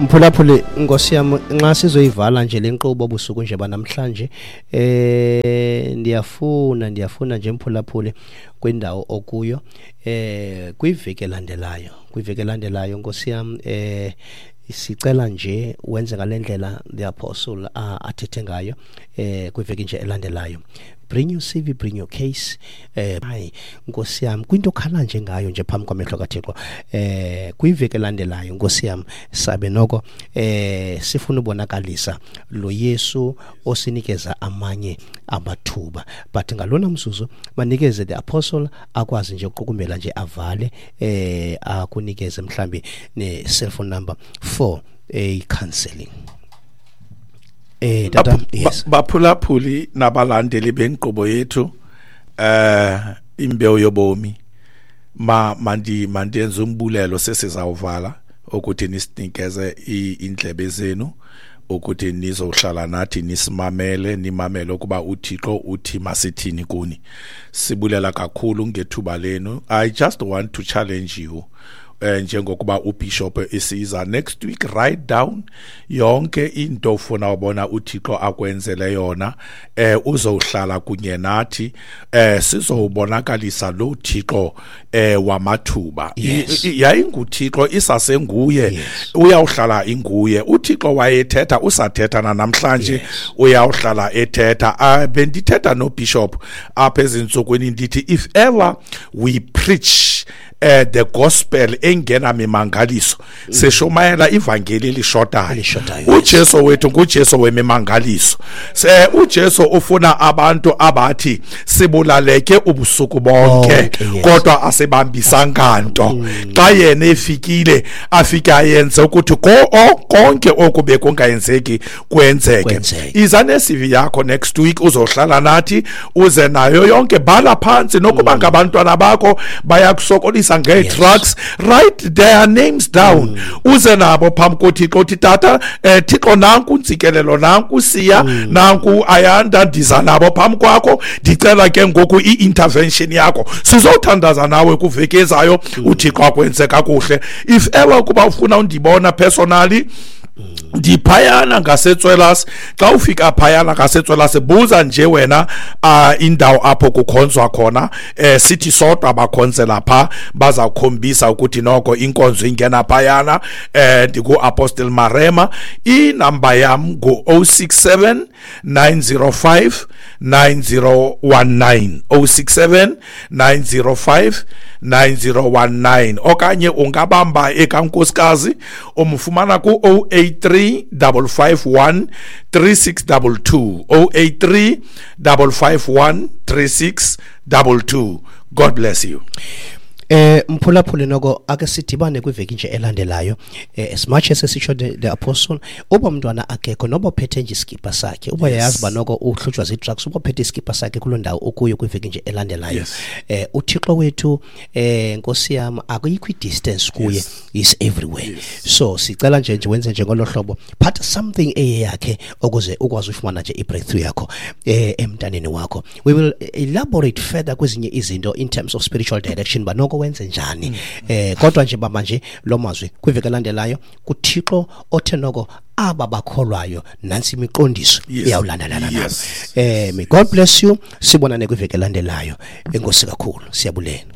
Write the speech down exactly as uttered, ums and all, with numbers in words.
Mphulaphuli, Nkosi yam, nxa sizoyivala nje le nkqubo busuku nje banamhlanje, eh ndiyafuna ndiyafuna nje mphulaphuli kwindawo okuyo eh kwiveki elandelayo, kwiveki elandelayo Nkosi yam, eh sicela nje wenze ngale ndlela the apostle athethe ngayo eh kwiveki nje elandelayo. Bring your C V, bring your case. Eh hayi Nkosi yam, kwinto okhala nje ngayo nje phambi kwamehlo kaThixo eh kwiveki elandelayo Nkosi yam, sabe noko eh sifuna ubonakalisa lo Yesu osinikeza amanye amathuba, but ngalona mzuzu banikeze the apostle akwazi nje ukuqukumbela nje avale eh akunikeze mhlambi ne cellphone number for a counseling. Eh tata, yes. Baphulaphuli nabalandeli benkqubo yethu eh imbewu yobomi, ma mandi mandenze umbulelo sesizawuvala ukuthi nisinikeze indlebe zenu ukuthi nizohlala nathi nisimamele, nimamele ukuba uThixo uthi masithini kuni. Sibulela kakhulu ngethuba lenu. I just want to challenge you njengokuba uBishop esiza next week, write down yonke into ofuna ubona uThixo akwenzele yona. Eh uzohlala kunye nathi, eh sizobonakalisa lo Thixo eh wamathuba. YayinguThixo isasenguye, uyawuhlala inguye uThixo. Wayethetha, usathetha namhlanje, uyawuhlala ethetha. Bendithetha noBishop apha ezintsukwini ndithi if ever we preach Uh, the gospel engena mimangaliso, mm. seshumayela ivangeli elishotayo. UJesu wethu nguJesu wemimangaliso. Se uJesu ufuna abantu abathi sibulaleke ubusuku bonke, oh, kodwa asibambisanga nto. Mm. Xa yena efikile afika ayenze ukuthi konke okube kungayenzeki kwenzeke. Iza ne-C V yakho next week, uzohlala nathi, uze nayo yonke, bhala phansi nokuba ngabantwana bakho bayakusokolisa nge-drugs, write their names down. Mm. Uze nabo phambi koThixo uthi tata, eh Thixo nanku Ntsikelelo, nanku Siya, mm. nanku Ayanda, ndiza nabo phambi kwakho, ndicela ke ngoku i-intervention yakho. Sizothandaza nawe kuveki ezayo, mm. uThixo akwenze kakuhle. If ever kuba ufuna undibona personally, ndiphayana ngaseTswelas. Xa ufika phayana ngaseTswelas, buza nje wena uh, indawo apho kukhonzwa khona. Eh sithi sodwa abakhonzela pha, bazawukhombisa ukuthi noko inkonzo ingena phayana. Eh ndiku Apostle Marema. Inamba yam ngu oh six seven nine oh five nine oh one nine, oh six seven nine oh five nine oh one nine, okanye ungabamba ekankosikazi umfumana ku oh eight three five five one three six two two, oh eight three five five one three six two two. God bless you. Eh mphulaphuli noko ake sidibane kwiveki nje elandelayo. Eh, as much as sisho the, the apostle, uba mntwana akekho noba uphethe nje iskipa sakhe, uba yayazi ba noko uhlutshwa zii-drugs, uba uphethe iskipa sakhe kuloo ndawo okuyo kwiveki nje elandelayo. Yes. Eh uThixo wethu eh Nkosi yam, akuyikho i-distance kuye, yes. Is everywhere. Yes. So sicela nje nje wenze nje ngolo hlobo, phatha something eyakhe ukuze ukwazi ufumana nje i-breakthrough yakho eh emntaneni wakho. We will elaborate further kwezinye izinto in terms of spiritual direction, ba noko wenze njani. Mm. Eh kodwa nje baba nje lo mazwi kwiveki elandelayo kuThixo othe noko aba bakholwayo nansi imiqondiso iyawulandelana nabo. Yes. Eh may God bless you. Sibonane kwiveki elandelayo. Enkosi kakhulu, siyabulela.